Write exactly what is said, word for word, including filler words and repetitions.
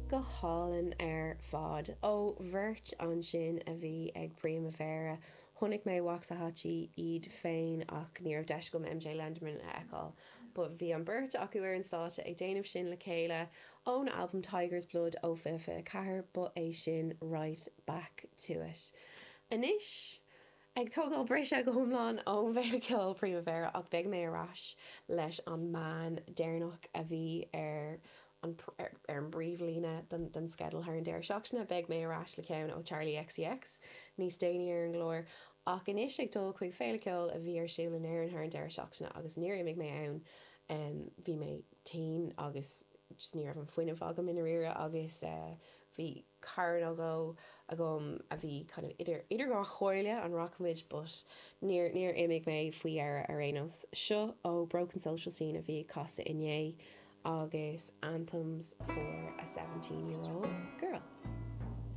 Go hálainn ar fad. Ó bheirt ansin a bhí ag Primavera. Chonaic mé Waxahatchee iad féin ach ní raibh deis agam MJ Lenderman a fheiceáil. But bhí an beirt acu ar an stáitse ag déanamh sin le chéile ón album Tiger's Blood ó fiche fiche ceathair ba é sin Right Back to It. Anois ag tógáil briseadh go hiomlán ón bhFéile Ceoil Primavera ach beidh mé ar ais leis an mbean deireanach a bhí ar an ar an bpríomhlíne den, den sceideal thar an deireadh seachtaine beidh mé ar ais le ceann ó Charli XCX níos déanaí ar an gclár ach anois ag dul chuig Féile Ceoil a bhí ar siúl in Éirinn thar an deireadh seachtaine agus níor imigh mé ann um, bhí mé tinn agus just ní raibh an fuinneamh agam i ndáiríre agus uh, bhí cara nó dhó agam a bhí kind of idir idir dhá chomhairle an rachaimid but níor níor imigh mé faoi dheireadh ar aon nós. Seo ó Broken Social Scene a bhí casadh inné agus Anthems for a seventeen year old girl.